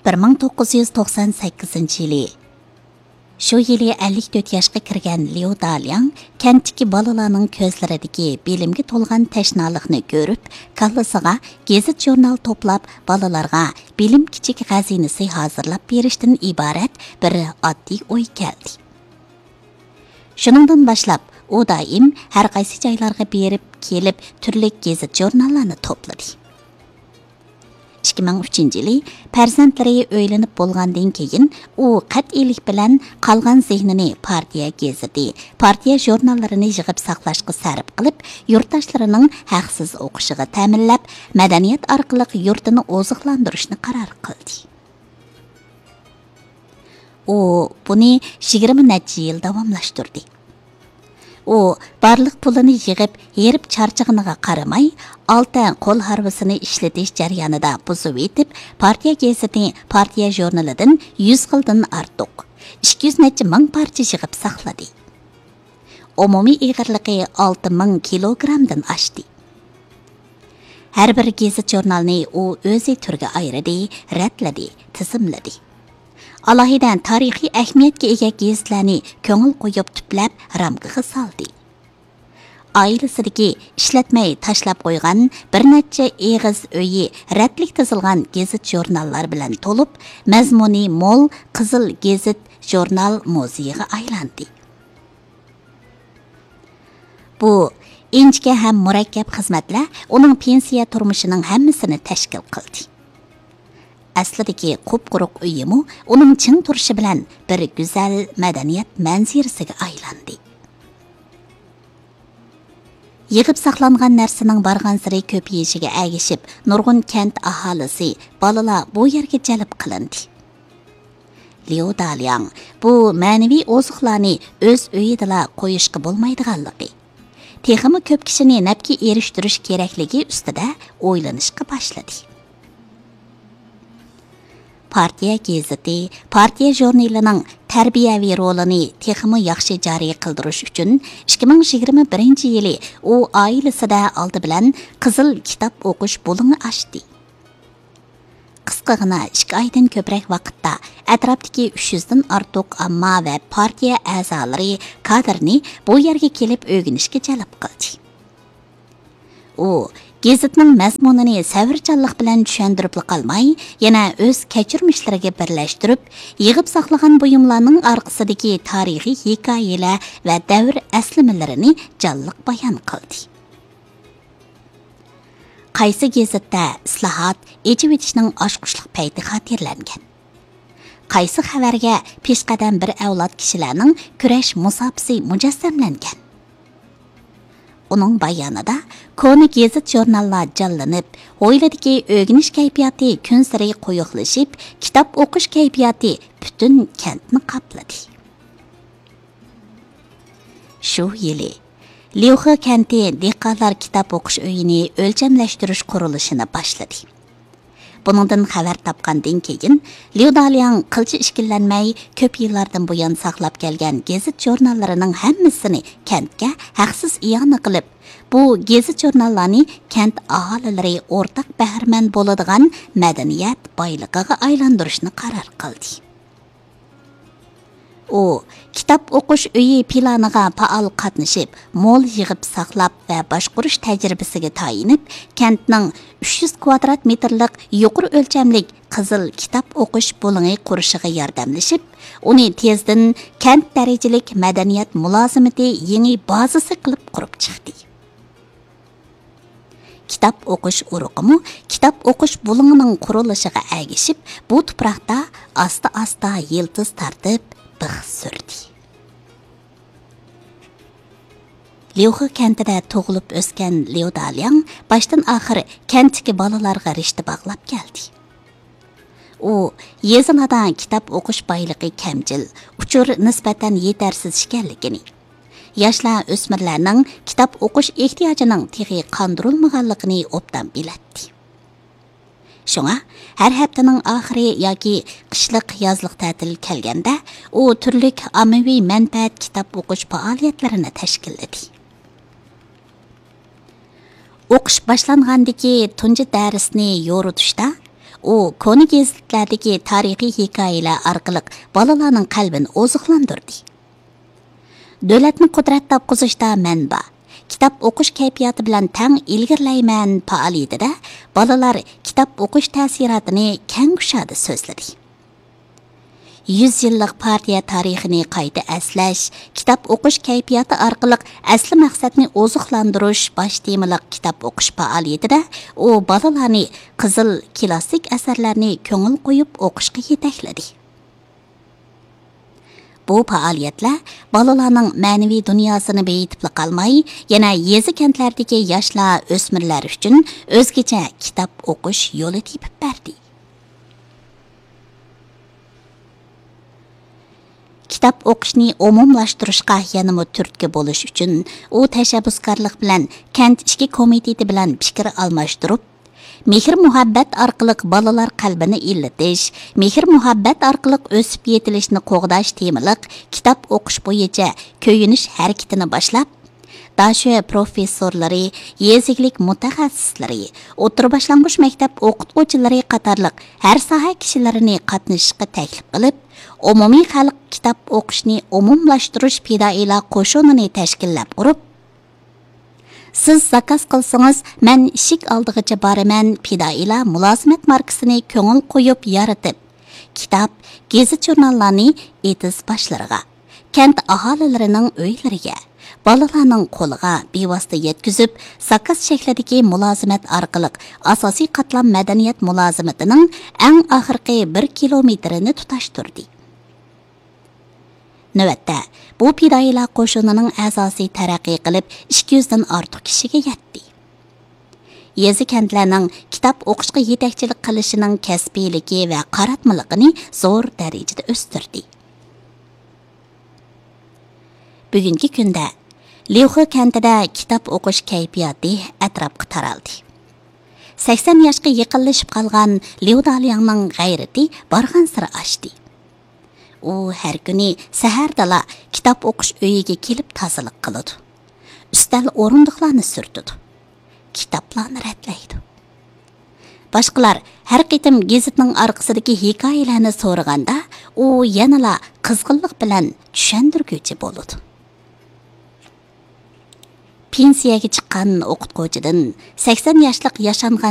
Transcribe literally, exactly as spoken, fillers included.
بىر مىڭ توققۇز يۈز توقسان سەككىزىنچى يىلى. شۇ يىلى ئەللىك تۆت ياشقا كىرگەن ليۇ دالياڭ كەنتتىكى بالىلارنىڭ كۆزلىرىدىكى بىلىمگە تولغان تەشنالىقنى كۆرۈپ، كاللىسىغا گېزىت-ژۇرنال توپلاپ، بالىلارغا بىلىم كىچىك خەزىنىسى ھازىرلاپ بېرىشتىن ئىبارەت بىر ئاددىي ئوي كەلدى. شۇنىڭدىن باشلاپ، ئۇ دائىم ھەر قايسى جايلارغا بېرىپ كېلىپ، تۈرلۈك گېزىت-ژۇرناللارنى توپلىدى. ئىككى مىڭ ئۈچىنچى يىلى پەرزەنتلىرى ئۆيلىنىپ بولغاندىن كېيىن، ئۇ قەتئىيلىك بىلەن قالغان زېھنىنى پارتىيە گېزىتى، پارتىيە ژۇرناللىرىنى يىغىپ ساقلاشقا سەرپ قىلىپ، يۇرتداشلىرىنىڭ ھەقسىز ئوقۇشىغا تەمىنلەپ، مەدەنىيەت ئارقىلىق يۇرتىنى ئوزۇقلاندۇرۇشنى قارار قىلدى. ئۇ بۇنى يىگىرمە نەچچە يىل داۋاملاشتۇردى. ئۇ بارلىق پۇلىنى يىغىپ، ھېرىپ چارچىغىنىغا قارىماي، ئالتە قول ھارۋىسىنى ئىشلىتىش جەريانىدا بۇزۇۋېتىپ، پارتىيە گېزىتى، پارتىيە ژۇرنىلىدىن يۈز خىلدىن ئارتۇق، ئىككى يۈز نەچچە مىڭ پارچە يىغىپ ساقلىدى. ئومۇمىي ئېغىرلىقى ئالتە مىڭ كىلوگرامدىن ئاشتى. ھەر بىر گېزىت-ژۇرنالنى ئۇ ئۆزى تۈرگە ئايرىدى، رەتلىدى، تىزىملىدى. ئالاھىدە تارىخىي ئەھمىيەتكە ئىگە گېزىتلەرنى كۆڭۈل قويۇپ تۈپلەپ رامكىغا سالدى. ئائىلىسىدىكى ئىشلەتمەي تاشلاپ قويغان بىر نەچچە ئېغىز ئۆيى رەتلىك تىزىلغان گېزىت-ژۇرناللار بىلەن تولۇپ، مەزمۇنى مول قىزىل گېزىت-ژۇرنال مۇزېيىغا ئايلاندى. بۇ ئىنچىكە ھەم مۇرەككەپ خىزمەتلەر ئۇنىڭ پېنسىيە تۇرمۇشىنىڭ ھەممىسىنى تەشكىل قىلدى. ئەسلىدىكى قۇپقۇرۇق ئۆيىمۇ ئۇنىڭ چىڭ تۇرۇشى بىلەن بىر گۈزەل مەدەنىيەت مەنزىرىسىگە ئايلاندى. يىغىپ ساقلانغان نەرسىنىڭ بارغانسېرى كۆپىيىشىگە ئەگىشىپ، نۇرغۇن كەنت ئاھالىسى، بالىلار بۇ يەرگە جەلپ قىلىندى. ليۇ دالياڭ بۇ مەنىۋى ئوزۇقلارنى ئۆز ئۆيىدىلا قويۇشقا بولمايدىغانلىقى، تېخىمۇ كۆپ كىشىنى نەپكە ئېرىشتۈرۈش كېرەكلىكى ئۈستىدە ئويلىنىشقا باشلىدى. پارتىيە گېزىتى، پارتىيە ژۇرنىلىنىڭ تەربىيەۋى رولىنى تېخىمۇ ياخشى جارى قىلدۇرۇش ئۈچۈن، ئىككى مىڭ يىگىرمە بىرىنچى يىلى ئۇ ئائىلىسىدە ئالدى بىلەن قىزىل كىتاب ئوقۇش بۇلۇڭى ئاچتى. قىسقىغىنا ئىككى ئايدىن كۆپرەك ۋاقىتتا ئەتراپتىكى ئۈچ يۈزدىن ئارتۇق ئامما ۋە پارتىيە ئەزالىرى، كادىرنى بۇ يەرگە كېلىپ ئۆگىنىشكە جەلپ قىلدى. ئۇ گېزىتنىڭ مەزمۇنىنى سەۋرچانلىق بىلەن چۈشەندۈرۈپلا قالماي، يەنە ئۆز كەچۈرمىشلىرىگە بىرلەشتۈرۈپ، يىغىپ ساقلىغان بۇيۇملارنىڭ ئارقىسىدىكى تارىخىي ھېكايىلەر ۋە دەۋر ئەسلىمىلىرىنى جانلىق بايان قىلدى. قايسى گېزىتتە ئىسلاھات، ئېچىۋېتىشنىڭ ئاچقۇچلۇق پەيتى خاتىرىلەنگەن؟ قايسى خەۋەرگە پېشقەدەم بىر ئەۋلاد كىشىلەرنىڭ كۈرەش مۇساپىسى مۇجەسسەملەنگەن؟ ئۇنىڭ بايانىدا كونا گېزىت-ژۇرناللار جانلىنىپ، ھويلىدىكى ئۆگىنىش كەيپىياتى كۈنسېرى قويۇقلىشىپ، كىتاب ئوقۇش كەيپىياتى پۈتۈن كەنتنى قاپلىدى. شۇ يىلى ليۇخې كەنتى دېھقانلار كىتاب ئوقۇش ئۆيىنى ئۆلچەملەشتۈرۈش قۇرۇلۇشىنى باشلىدى. بۇنىڭدىن خەۋەر تاپقاندىن كېيىن، ليۇ دالياڭ قىلچە ئىككىلەنمەي، كۆپ يىللاردىن بۇيان ساقلاپ كەلگەن گېزىت-ژۇرناللىرىنىڭ ھەممىسىنى كەنتكە ھەقسىز ئىئانە قىلىپ، بۇ گېزىت-ژۇرناللارنى كەنت ئاھالىلىرى ئورتاق بەھرىمەن بولىدىغان مەدەنىيەت بايلىقىغا ئايلاندۇرۇشنى قارار قىلدى. ئۇ كىتاب ئوقۇش ئۆيى پىلانىغا پائال قاتنىشىپ، مول يىغىپ ساقلاپ ۋە باشقۇرۇش تەجرىبىسىگە تايىنىپ، كەنتنىڭ ئۈچ يۈز كۋادرات مېتىرلىق يۇقىرى ئۆلچەملىك قىزىل كىتاب ئوقۇش بۇلۇڭى قۇرۇشىغا ياردەملىشىپ، ئۇنى تېزدىن كەنت دەرىجىلىك مەدەنىيەت مۇلازىمىتى يېڭى بازىسى قىلىپ قۇرۇپ چىقتى. كىتاب ئوقۇش ئۇرۇقىمۇ كىتاب ئوقۇش بۇلۇڭىنىڭ قۇرۇلۇشىغا ئەگىشىپ، بۇ تۇپراقتا ئاستا-ئاستا يىلتىز تارتىپ بىخ سۈردى. ليۇخې كەنتىدە تۇغۇلۇپ ئۆسكەن ليۇ دالياڭ باشتىن-ئاخىر كەنتتىكى بالىلارغا رىشتە باغلاپ كەلدى. ئۇ يېزىلاردا كىتاب ئوقۇش بايلىقى كەمچىل، ئۇچۇر نىسبەتەن يېتەرسىز ئىكەنلىكىنى، ياشلار، ئۆسمۈرلەرنىڭ كىتاب ئوقۇش ئېھتىياجىنىڭ تېخى قاندۇرۇلمىغانلىقىنى ئوبدان بىلەتتى. شۇڭا ھەر ھەپتىنىڭ ئاخىرى ياكى قىشلىق، يازلىق تەتىل كەلگەندە، ئۇ تۈرلۈك ئاممىۋى مەنپەئەت كىتاب ئوقۇش پائالىيەتلىرىنى تەشكىللىدى. ئوقۇش باشلانغاندىكى تۇنجى دەرسنى يورۇتۇشتا، ئۇ كونا گېزىتلەردىكى تارىخىي ھېكايىلەر ئارقىلىق بالىلارنىڭ قەلبىنى ئوزۇقلاندۇردى. دۆلەتنى قۇدرەت تاپقۇزۇشتا مەن بار، كىتاب ئوقۇش كەيپىياتى بىلەن تەڭ ئىلگىرىلەيمەن پائالىيىتىدە بالىلار كىتاب ئوقۇش تەسىراتىنى كەڭ كۇشادە سۆزلىدى. يۈز يىللىق پارتىيە تارىخىنى قايتا ئەسلەش، كىتاب ئوقۇش كەيپىياتى ئارقىلىق ئەسلى مەقسەتنى ئوزۇقلاندۇرۇش باش تېمىلىق كىتاب ئوقۇش پائالىيىتىدە ئۇ بالىلارنى قىزىل كىلاسسىك ئەسەرلەرنى كۆڭۈل قويۇپ ئوقۇشقا يېتەكلىدى. بۇ پائالىيەتلەر بالىلارنىڭ مەنىۋى دۇنياسىنى بېيىتىپلا قالماي، يەنە يېزا-كەنتلەردىكى ياشلار، ئۆسمۈرلەر ئۈچۈن ئۆزگىچە كىتاب ئوقۇش يولى تېپىپ بەردى. كىتاب ئوقۇشنى ئومۇملاشتۇرۇشقا يەنىمۇ تۈرتكە بولۇش ئۈچۈن، ئۇ تەشەببۇسكارلىق بىلەن كەنت ئىچكى كومىتېتى بىلەن پىكىر ئالماشتۇرۇپ، مېھىر-مۇھەببەت ئارقىلىق بالىلار قەلبىنى ئىللىتىش، مېھىر-مۇھەببەت ئارقىلىق ئۆسۈپ يېتىلىشنى قوغداش تېمىلىق كىتاب ئوقۇش بويىچە كۆيۈنۈش ھەرىكىتىنى باشلاپ، داشۆ پروفېسسورلىرى، يېزا ئىگىلىك مۇتەخەسسىسلىرى، ئوتتۇرا باشلانغۇچ مەكتەپ ئوقۇتقۇچىلىرى قاتارلىق ھەر ساھە كىشىلىرىنى قاتنىشىشقا تەكلىپ قىلىپ، ئومۇمىي خەلق كىتاب ئوقۇشنى ئومۇملاشتۇرۇش پىدائىيلار قوشۇنىنى تەشكىللەپ قۇرۇپ، سىز زاكاز قىلسىڭىز، مەن ئىشىك ئالدىغىچە بارىمەن پىدائىيلار مۇلازىمەت ماركىسىنى كۆڭۈل قويۇپ يارىتىپ، كىتاب، گېزىت-ژۇرناللارنى ئېتىز باشلىرىغا، كەنت ئاھالىلىرىنىڭ ئۆيلىرىگە، بالىلارنىڭ قولىغا بىۋاسىتە يەتكۈزۈپ، زاكاز شەكلىدىكى مۇلازىمەت ئارقىلىق ئاساسىي قاتلام مەدەنىيەت مۇلازىمىتىنىڭ ئەڭ ئاخىرقى بىر كىلومېتىرىنى تۇتاشتۇردى. نۆۋەتتە، بۇ پىدائىيلار قوشۇنىنىڭ ئەزاسى تەرەققىي قىلىپ، ئىككى يۈزدىن ئارتۇق كىشىگە يەتتى. يېزا-كەنتلەرنىڭ كىتاب ئوقۇشقا يېتەكچىلىك قىلىشىنىڭ كەسپىيلىكى ۋە قاراتمىلىقىنى زور دەرىجىدە ئۆستۈردى. بۈگۈنكى كۈندە ليۇخې كەنتىدە كىتاب ئوقۇش كەيپىياتى ئەتراپقا تارالدى. سەكسەن ياشقا يېقىنلىشىپ قالغان ليۇ دالياڭنىڭ غەيرىتى بارغانسېرى ئاشتى. ئۇ ھەر كۈنى سەھەردىلا كىتاب ئوقۇش ئۆيىگە كېلىپ تازىلىق قىلىدۇ. ئۈستەل ئورۇندۇقلارنى سۈرتىدۇ. كىتابلارنى رەتلەيدۇ. باشقىلار ھەر قېتىم گېزىتنىڭ ئارقىسىدىكى ھېكايىلەرنى سورىغاندا، ئۇ يەنىلا قىزغىنلىق بىلەن چۈشەندۈرگۈچى بولىدۇ. پېنسىيەگە چىققان ئوقۇتقۇچىدىن سەكسەن ياشلىق ياشانغان